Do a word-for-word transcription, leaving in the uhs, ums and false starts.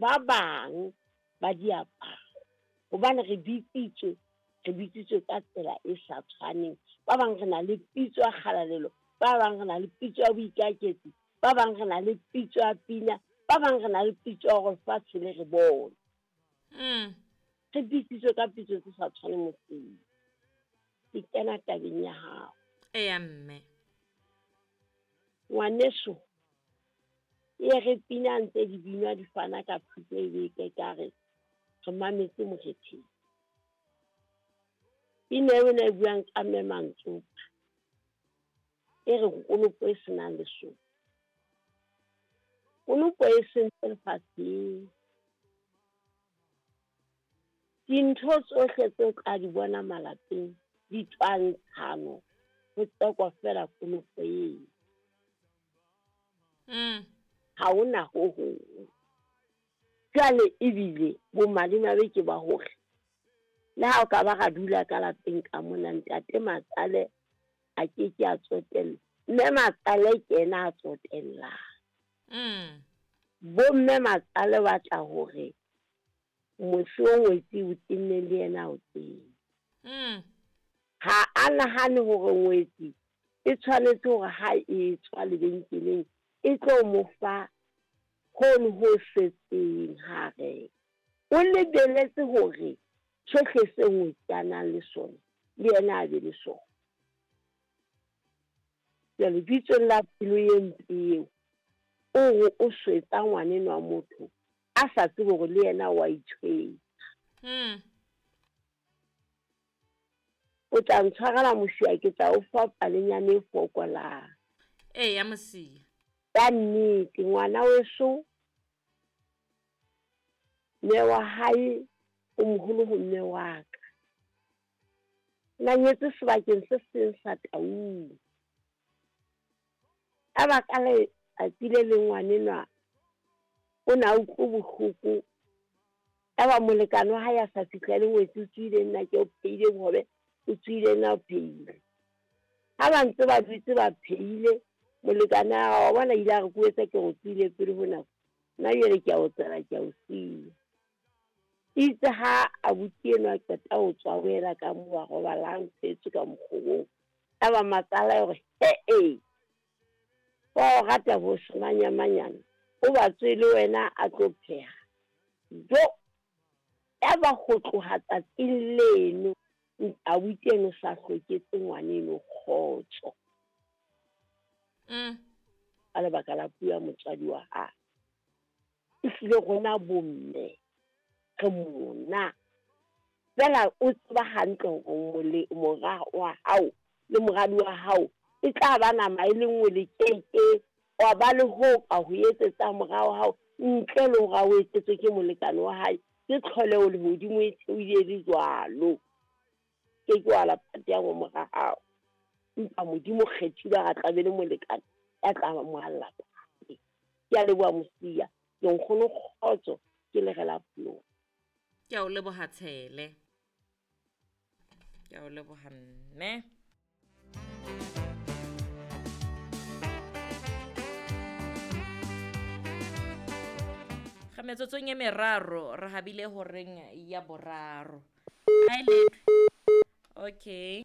Ba bang ba diaparo, hobane re bitsitswe, re bitsitswe ka tsela e sa tshwaneng. Ba bang re na le pitso ya kgalalelo, ba bang re na le pitso ya boikaketsi, ba bang re na le pitso ya pina, ba bang re na le pitso ya hore lefatshe le re bone. Mm. Re bitsitswe ka pitso tse sa tshwaneng motseng. Ke kena tabeng ya hao. Eya mme. Ngwaneso, e re pina ntse di binwa di fana ka thuto e beke ka re re mametse mokgetheng. Pina eo e buang ka mme Mantsopa, e re konopo e senang lesoba. Konopo e sentse lefatsheng. Dintho tsohle tseo tla di bona malapeng di twantshano, ho tsekwa feela konopo eo. Mm. Ha hona ho hong. Jwale ebile bomadimabe ke ba hore le ha o ka ba ra dula ka lapeng ka mona, ntate Matsale a ke ke a tsotella. Mme Matsale ke yena a tsotellang. Mm. Bomme Matsale ba tla hore mose o ngwetsi o tenne le yena o teng. Mm. Ha a nahane hore ngwetsi e tshwanetse hore ha e tswa lebenkeleng e tlo mo fa hono ho setseng ha reka. O lebeletse hore sohle se ngwetsi a nang le sona le yena a be le sona. Jwale bitsong la pelo e mpe eo, o re o swetsa ngwaneno wa motho a sa tsebe hore le yena wa itshwetsa. Mm. O tla ntshwarela Mosia, ke tla o fa palenyana e fokolang. Eya Mosia. Ka nnete ngwana weso, mme wa hae o moholo ho mme wa ka. Na nyetse sebakeng se seng sa Taung. Ka baka letsatsi le leng ngwanenwa o na utlwe bohloko. Yaba molekane wa hae a sa fihla le ngwetsi, o tswile nna ke o phehile bohobe, o tswile nna o phehile. Ha ba ntse ba dutse ba phehile, molekane wa wa bona ile a re ke o etsa ke re o tswile pele ho nako. Nna jwale ke a o tsela, ke a o siya. Itse ha abuti enwa a qeta ho tswa o ela ka moo a robalang phetswe ka mokgobong. Yaba matsala hore he-e, wa o rata bo semanyamanyana, o ba tswe le wena a tlo pheha. Jo, yaba ho tloha tsatsing leno, abuti eno sa hloketse ngwaneno kgotso. Mm. Ka lebaka la puo ya motswadi wa hae. Ehlile rona bomme re mona. Feela o tseba hantle hore mora wa hao le moradi wa hao e tla ba nama e le nngwe le keke wa ba le ho ka ho etsetsa mora wa hao ntle le hore a o etsetswe ke molekane wa hae. Ke tlholeho lehodimo e theohile le jwalo. Ke ke wa la phate ya mora hao. Empa Modimo kgethile a tla be le molekane ya tla mo alla phate. Ke a leboha Mosia, ke nkgono kgotso, ke le re la polo. Ke a o leboha Tshele. Ke a o leboha mme. Ga metsotsong e meraro re habile horeng ya boraro. Ha e letho. Okay.